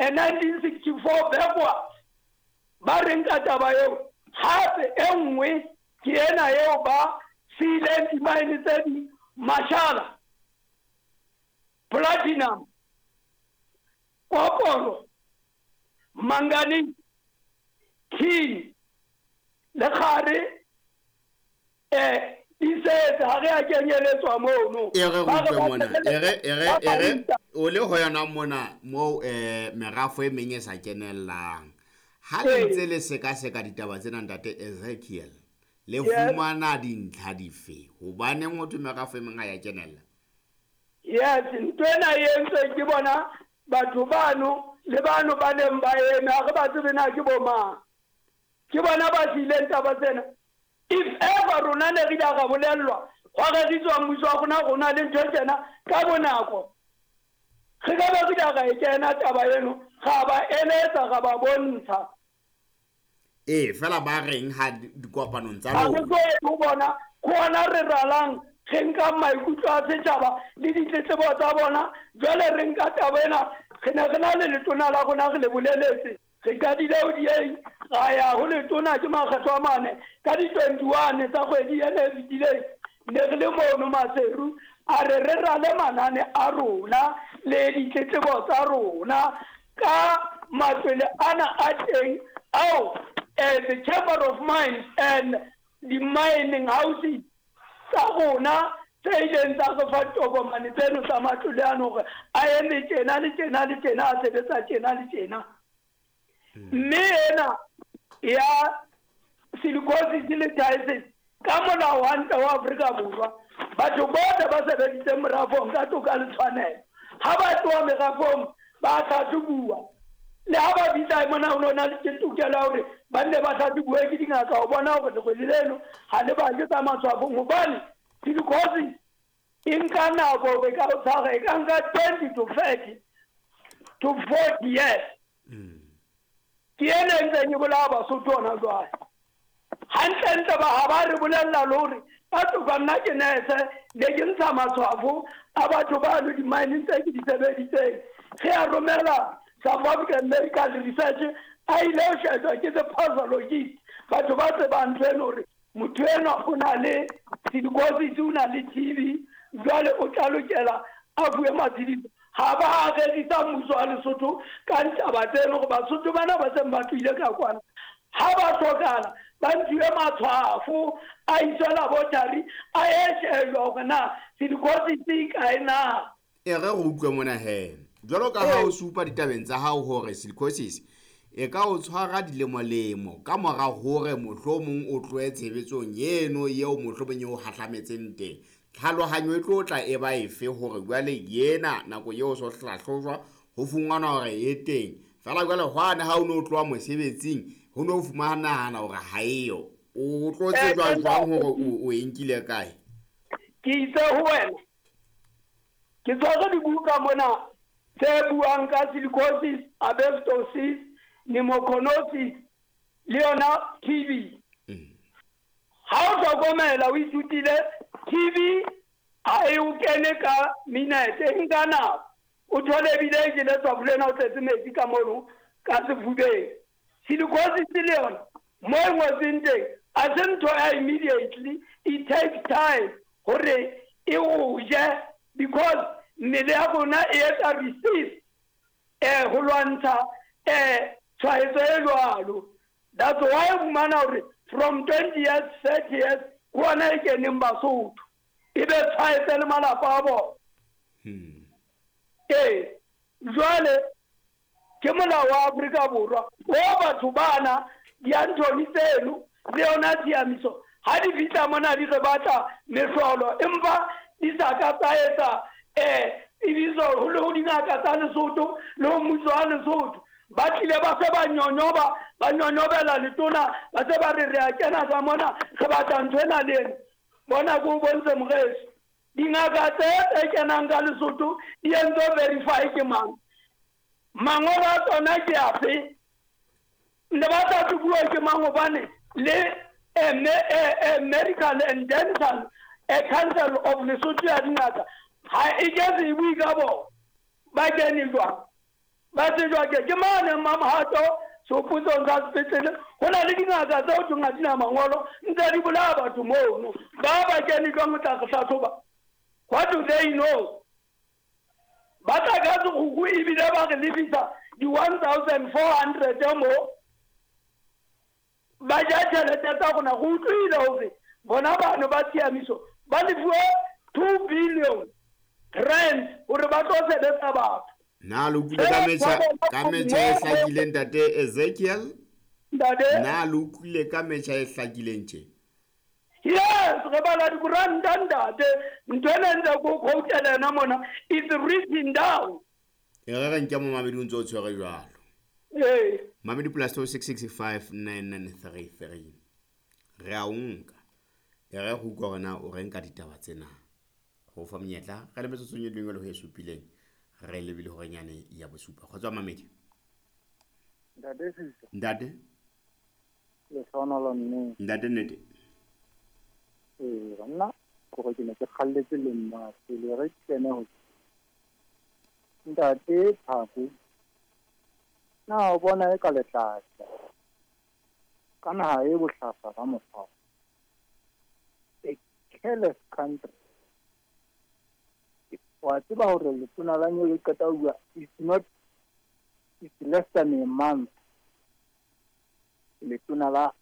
1964 backwards. Ba reng ka taba eo? Hape e nngwe ke ena eo ba siileng dimaene tse ding mashala, platinum, koporo, manganese, tin le kgare di setse ha re a kenyeletswa mono. E re Ba re utlwe ba mona, e re e re ba e re ruta. o le ho yona mona moo merafo e meng e sa kenellang. Ha le ntse le sekaseka ditaba tsena ntate Ezekiel, le fumana dintlha dife? Hobaneng ho thwe merafo e meng ha ya kenella? Yes, ntho ena e entswe ke bona batho bano le bano ba neng ba eme, ha re ba tsebe na ke bo mang. Ke bona ba siileng taba tsena. If ever rona ne re ile ra bolellwa, hwa reriswa mmuso wa rona, rona le ntho e tjena ka bonako, re ka be re ile ra e kena taba eno, ra ba eletsa, ra ba bontsha. Ee, fela ba reng ha dikopanong tsa Ha re lona? tlo ye ho bona, ke hona re ralang, re nkang maikutlo a setjhaba le ditletlebo tsa bona. Jwale re nka taba ena, re ne re na le letona la rona, re le boleletse. Re qadile ho dieng, ra ya ho letona ke makgetlo a mane ka di-21 tsa kgwedi ena e fetileng. Ne re le mono Maseru, a re re rale manane a rona le ditletlebo tsa rona ka matlwele ana a teng ao the Chamber of Mines and the mining houses tsa rona tse ileng tsa re fa ditokomane tseno tsa matlole ano hore a eme tjena le tjena le tjena, a sebetsa tjena le tjena. Mme ena ya silicosis le phthisis ka molao hantle wa Afrika Borwa, batho bohle ba sebeditseng merafong ka toka le tshwanelo, ha ba tloha merafong ba hlahlobuwa. Le ha ba fihla mona ho na le tokelo ya hore ba nne ba hlahlobuwe ke dingaka ho bona hore lerwele leno ha le bake tsa matshwafong, hobane silicosis e nka nako hore e ka o tshwara, e ka nka 20 to 30 to 40 years. Ke ena e ntseng e bolaya Basotho hona jwale. Hantlentle ba ha ba re bolella le hore ka toka nna ke nurse, ne ke ntsha matshwafo a batho bano di-mineng tse ke di sebeditseng. Re a romela South African Medical Research, a ile ho shejwa ke the pathologist, batho ba tsebang ntho eno hore motho enwa o na le silicosis, o na le TB, jwale o tla lokela a fuwe matshediso. Ha ba a rerisa mmuso wa Lesotho ka ditaba tseno hore Basotho bana ba seng ba tlohile ka kwana, ha ba hlokahala ba ntshiwe matshwafo a iswe laboratory a ye shejwa hore na silicosis e kae na. E re re utlwe mona he, jwalo ka ha o supa ditabeng tsa hao hore silicosis e ka o tshwara dilemolemo ka mora hore mohlomong o tlohe tshebetsong eno eo mohlomong e o hahlametseng teng, tlhalohanyo e tlo tla e ba efe hore jwale yena nako eo so hlahlojwa ho fumanwa hore e teng? Fela jwale hwane ha o no tloha mosebetsing ho no fumanahana hore ha eyo, o tlo tsejwa jwang hore o e nkile kae? Ke itse ho wena, ke tshwere dibuka mona tse buang ka silicosis, asbestosis, pneumoconiosis le yona TB. Ha o hlokomela o ithutile TB ha e o kene ka minute, e nka nako. O thole ebile e jele tshwafo lena o tletse metsi ka mono ka sefubeng. Silicosis le yona mo e ngotsweng teng ha se ntho ya immediately, it takes time hore e o je because mmele ya rona e etsa resist ho lwantsha tshwaetso e jwalo. That's why o fumana hore from 20 years, 30 years ke hona e keneng Basotho, e be tshwaetse le malapa a bona. Ee, jwale ke molao wa Afrika Borwa o batho bana di-Anthony tseno le yona tshiamiso ha di fihla mona di re batla mehlolo, empa di sa ka tsa etsa tsebiso ho le ho dingaka tsa Lesotho le ho mmuso wa Lesotho. Ba tlile ba se ba nyonyoba, ba nyonyobela letona, ba se ba re re a kena ka mona, re batla ntho ena le ena. Bona ke o bontshe moreso, dingaka tse tse kenang ka Lesotho di entswe verify ke mang? Mangolo a tsona ke afe? Ne ba tla tlobuwa ke mang? Hobane le Medical and Dental Council of Lesotho ya dingaka ha e ke se e bue ka bona. Ba kene jwang? Ba tsejwa ke mane Mmamohato sehopotsong sa sepetlele. Ho na le dingaka tseo thweng ha di na mangolo, ntse di bolaya batho mono. Ba ba kene jwang ho tla re hlahloba? What do they know? Ba tla ka sekgukgu ebile ba re lefisa di-1400 mo. Ba ja tjhelete tsa rona. Re utlwile hore bona bano ba tshiamiso ba lefuwe 2 billion rand hore ba tlo sebetsa batho. Na le utlwile ka metjha ka metjha e hlakileng, ntate Ezekiel? Ntate? Na le utlwile ka metjha e hlakileng tje? Yes, re bala dikoranta, ntate. Ntho ena ntse ko quotela yona mona, it's written down. E re re nke momamedi o ntse o tshwere jwalo. Ee. Mamedi plus 26659933. Re a o nka. E re go utlwa hore na o reng ka ditaba tsena. Go fa monyetla re le metsotsong e lengwe le ho e supileng. Re lebile hore nyane ya bosupa. Kgotsa mamedi. Ntate Sisa. Ntate. Lehlohonolo mme. Ntate nnete. Ee, nna kore ke ne ke kgalletse le nna pele re kene ho Ntate Phako. Na o bona e ka letlatla ka naha e bohlaswa ka mokgwa. A careless country. Wa tseba hore letona la Nyolo le qeta ho bua, it's not, it's less than a month. Letona la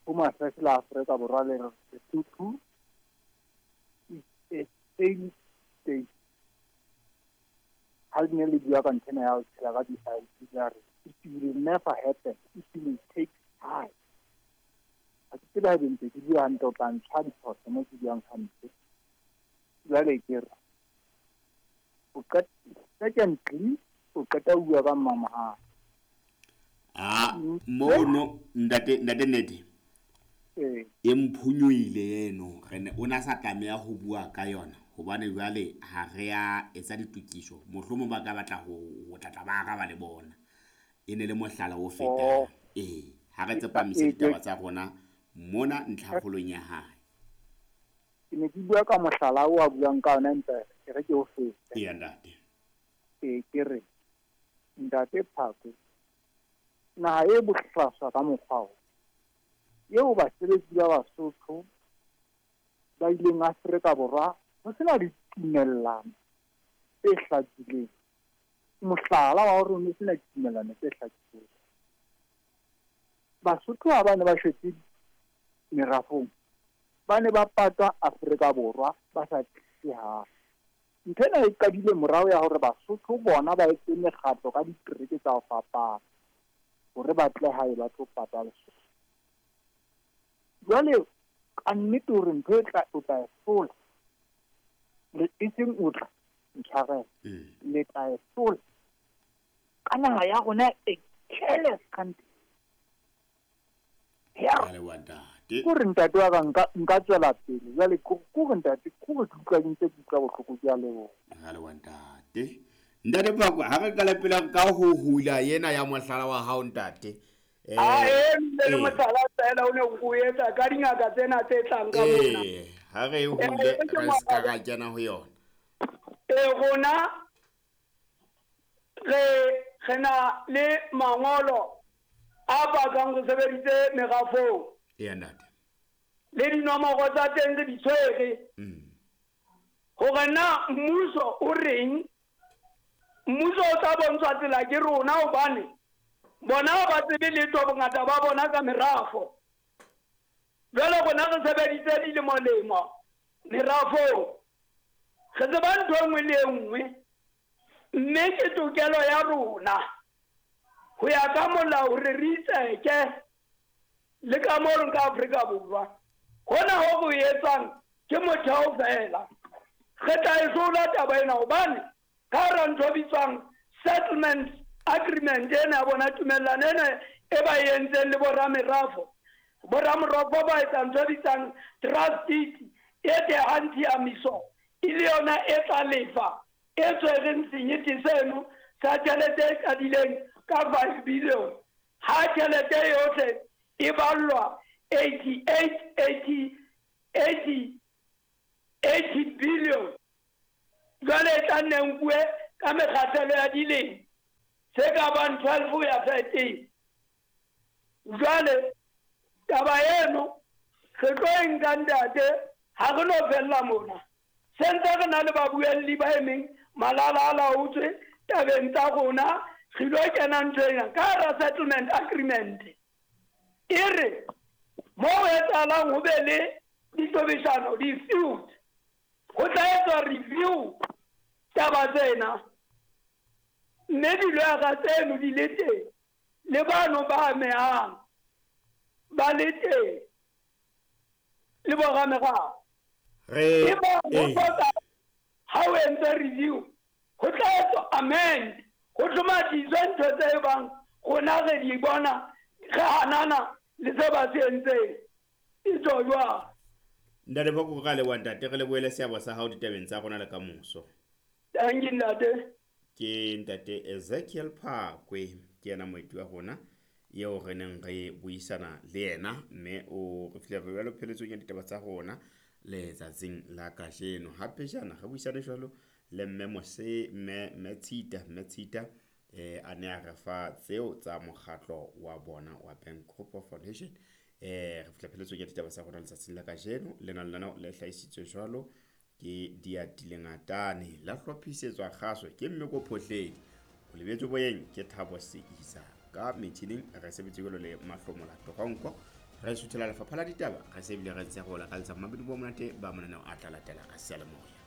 Home Affairs la Afrika Borwa le re Lesotho is a failed state. Ha le ne le bua ka nthwena ya ho tshela ka di-ID, la re it will never happen, it will take time. Ha ke tsebe haebe ntse ke bua hantle, o tla ntshwa diphoso mo ke buang hampe. Jwale ke re secondly o qeta ho bua ka Mmamohato. Ah, mono ntate ntate nnete. Ee. E mphonyohile eno, re ne o na sa tlameha ho bua ka yona hobane jwale ha re a etsa ditokiso. Mohlomong ba ka batla ho tla ba araba le bona. E ne le mohlala o fetang. Oh. Ee, ha re tsepamise ditaba tsa rona mona ntlhakgolong ya hae. Ke ne ke bua ka mohlala o a buang ka ona, empa ke re ke o fete. Eya ntate. Ee, ke re ntate Phako, naha e bohlaswa ka mokgwa o eo basebetsi ba Basotho ba ileng Afrika Borwa ho sena ditumellano tse hlakileng. Mohlala wa hore ho sena ditumellano tse hlakileng. Basotho ha ba ne ba shwetse merafong, ba ne ba patwa Afrika Borwa ba sa tlise hae. Ntho ena e qadile morao ya hore Basotho bona ba etse mekgatlo ka ditereke tsa ho fapana hore ba tle hae ba tlo pata Lesotho. Jwale ka nnete hore ntho e tla o tla e hlola, le e seng o tla ntshwarela, le tla e hlola ka naha ya rona e careless country. Ya kore ntate wa ka nka tswela pele jwale kore ntate kore ke utlwa ke ntse ke utlwa bohloko, ke a leboha. Ra leboha ntate. Ntate Phako, ha re qala pele ka ho hula yena ya mohlala wa hao ntate. A e le mohlala fela o ne o etsa ka dingaka tsena tse tlang ka mona. Ha re e hule re ska ra kena ho yona. Rona re na le mangolo a bakang go sebeditse merafong. Eya ntate. Le dinomoro tsa teng re di tshwere. Hore na mmuso o reng? Mmuso o tla bontshwa tsela ke rona hobane bona ba tsebe letho bongata ba bona ka merafo. Jwale rona re sebeditse dilemo-lemo merafong. Re tseba ntho e nngwe le e nngwe, mme ke tokelo ya rona ho ya ka molao hore re itseke le ka moo ka Afrika Borwa. Hona ho go etsang ke motheo fela. Re tla e hlola taba ena hobane ka hara ntho e bitswang settlement agreement ena ya bona, tumellano ena e ba e entseng le boramerafo. Boramerafo ba etsa ntho e bitsang trust deed e tehang tshiamiso, e le yona e tla lefa e tshwereng senyete seno sa tjhelete e qadileng ka 5 billion. Ha tjhelete yohle e ballwa 88 80 billion. Jwale e tla nne nkuwe ka mekgahlelo ya dilemo. Tse ka bang 12 ho ya 13. Jwale taba eno re tlo e nka ntate, ha re no fella mona. Se ntse re na le babuelli ba emeng malala a laotswe tabeng tsa rona, re ilo kena ntho ena ka hara settlement agreement. E re mo ho etsahalang ho be le ditobeshano, di-feud, ho tla etswa review taba tsena, mme diloyara tseno di le teng le bano ba amehang ba le teng le boramerao. Re E ba ho ee. hloka ha o entse review ho tla etswa amend, ho hlomathiswe ntho tse bang rona re di bona re hanana le se ba se entseng. E tswa jwang? Ntate Phakwe, re a leboha ntate, re lebohele seabo sa hao ditabeng tsa rona le kamoso. Thank you ntate. Ke ntate Ezekiel Phakwe, ke yena moeti wa rona eo re neng re buisana le yena, mme o re file re jwalo pheletsong ya ditaba tsa rona letsatsing la kajeno. Hape jana re buisane jwalo le mme Mose, mme mme Tshita, mme Tshita a ne a re fa tseo tsa mokgatlo wa bona wa Bank Group of Foundation. Re fihla pheletsong ya ditaba tsa rona letsatsing la kajeno. Lena lenaneo le hlahisitswe jwalo ke Diatile Ngatane, la hlophisetswa kgaso ke Mmeko Phohledi, o lebetswe boyeng ke Thabo Seisa, ka metjhining re sebetse jwalo le Mahlomola Toronko. Re suthela lefapha la ditaba, re se bile re ntse re o lakaletsa mmabedi bo monate ba mananeo a tla latela ka seyalemoya.